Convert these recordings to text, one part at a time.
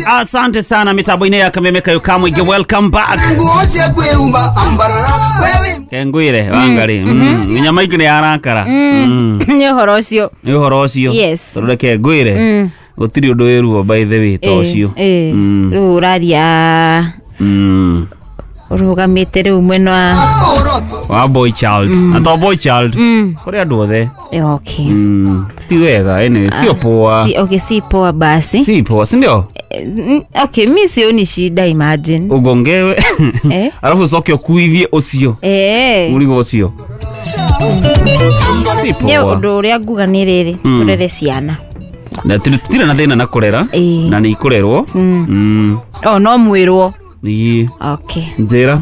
Asante sana mitambo-inĩ ya Kameme Kayo Kamũingĩ, welcome back. Kengwire Wangari, nyama ingĩ nĩ yarakara. Nĩ ũhoro ũcio. Nĩ ũhoro ũcio. Yes. Tondũ reke ngwĩre, gũtirĩ ũndũ wĩ ruo, by the way, ta ũcio. Rĩu ũraria ũrũgamĩte rĩu mwena wa Wa boy child, na to boy child, kũrĩ andũ othe. Okay. Ti wega, anyway, sio poa. Si, okay, si poa basi. Si poa, si ndio? Okay, mi sioni shida, imagine. Ugongewe Eh? alafu ucoke ũkuithie ũcio mũrigo ũcio, si Nĩ poa. ũndũ ũrĩa nguga nĩ rĩrĩ, tũrere ciana. Na tũtirĩ na thĩna na kũrera na nĩ ikũrerwo. O no mwĩrwo. Ĩĩ. Okay. Njĩra.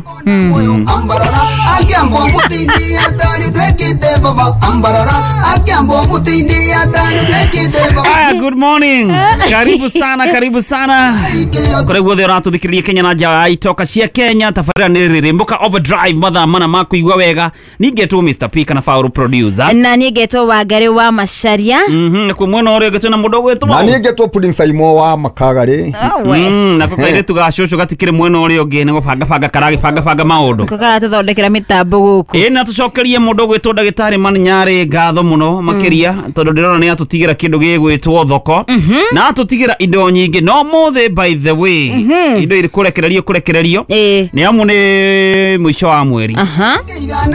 Akiambo mutini atani dwekite baba ambarara, akiambo mutini atani dwekite baba. Aya, good morning, karibu sana, karibu sana kũrĩa guothe ũratũthikĩrĩria Kenya na nja wa itoka cia Kenya. Tabarĩra nĩ Rĩrĩmbũka Overdrive, mathaa mana ma kũigua wega. Ningetwo Mr P kana Faulu producer. Na niĩ ngetwo Wangari wa Macaria. Nakuo mwena ũrĩa ũngĩ twĩna mũndũ ũgwĩtwo Na niĩ ngetwo Pudding Saimo wa Makagarĩ. We. Nako kairĩtu ga cũcũ gatikĩrĩ mwena ũrĩa ũngĩ, nĩ gũbangabanga karagĩbangabanga maũndũ. Ko karatũthondekera mĩtambo gũkũ. Ĩ, na tũcokerie mũndũ ũgwĩtwo ndagĩtarĩ Maninyarĩ ngatho mũno makĩria, tondũ ndĩrona nĩ atũtigĩra kĩndũ gĩgwĩtwo thoko na atũtigĩra indo nyingĩ. No mũthĩ, by the way, indo irĩ kũrekererio kũrekererio, nĩ amu nĩ mũico wa mweri,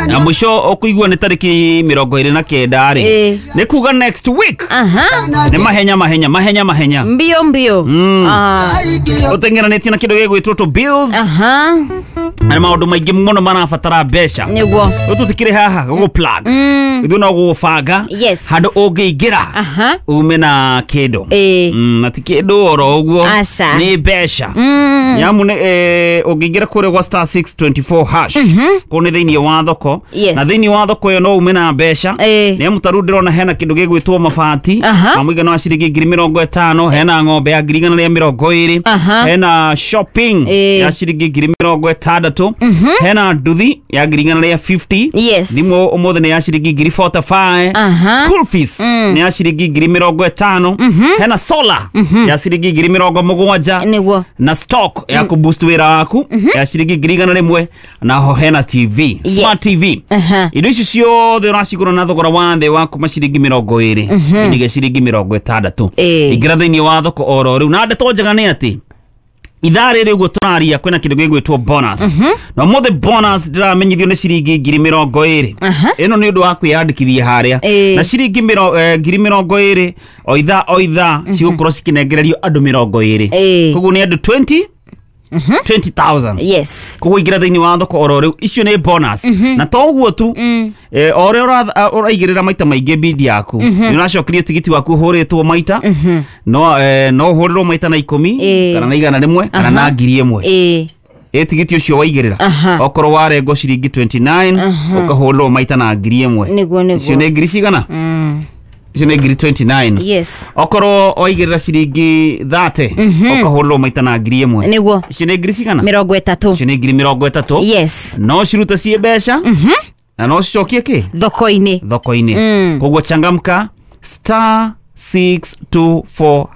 na mũico ũkũigua nĩ tarĩki 29 rĩ, nĩ kuga next week nĩ mahenya mahenya mahenya mahenya. Mbio mbio. Ũteng'eranĩtie na kĩndũ gĩgwĩtwo tũ bills na maũndũ maingĩ mũno marabatara mbeca. Rĩu tũtikĩrĩ haha gũgũ plug, ithuĩ no gũgũbanga handũ ũngĩingĩra ume na kĩndũ. Na ti kĩndũ oro ũguo. Aca. Nĩ mbeca, nyamu nĩ ũngĩingĩra kũrĩa gwa *624# kũu nĩ thĩinĩ wa thoko, na thĩinĩ wa thoko ĩyo no ume na mbeca, nĩ amu tarĩu ndĩrona hena kĩndũ gĩgwĩtwo mabati ma mũigana wa ciringi 50,000, hena ng'ombe ya 120,000, hena shopping ya ciringi 60,000, hena nduthi ya 150,000, thimũ ũmũthĩ nĩ ya ciringi 45,000, school fees nĩ ya ciringi 50,000, hena solar ya ciringi 70,000, na stock ya kũboost wĩra waku ya ciringi 100,000, na ho hena TV, smart TV. Indo ici ciothe ũracigũra na thogora wa thĩ wa kuma ciringi 20 nginya ciringi 60. Ingĩra thĩinĩ wa thoko oro rĩu. Na ndeto njega nĩ atĩ ithaa rĩrĩ ũguo tũraria kwĩna kĩndũ gĩgwĩtwo bonus, na ũmũthĩ bonus ndĩramenyithio nĩ ciringi 20,000. Ĩno nĩ ũndũ wa kwĩyandĩkithia harĩa, na ciringi 20,000 o ithaa o ithaa cigũkorwo cikĩnengererio andũ 20. Koguo nĩ andũ 20 20,000. Koguo ingĩra thĩinĩ wa thoko oro rĩu, icio nĩ bonus. Na to ũguo tu, o ũrĩa ũraigĩrĩra maita maingĩ bidi yaku, nĩ ũracokerio tigiti waku ũhũrĩtwo maita, no ũhũrĩrwo maita na 10 kana na 100 kana na 1,000. Ĩ tigiti ũcio waigĩrĩra, okorwo warengwo ciringi 29, ũkahũrĩrwo maita na 1,000. Nĩguo. Icio nĩ ngiri cigana? Icio nĩ ngiri 29. Okorwo waigĩrĩra ciringi 30, ũkahũrĩrwo maita na 1,000. Icio nĩ ngiri cigana? 30. Icio nĩ 30,000. No cirute ciĩ mbeca na no cicokie kĩ Thoko-inĩ. Thoko-inĩ. Koguo changamka, *624#.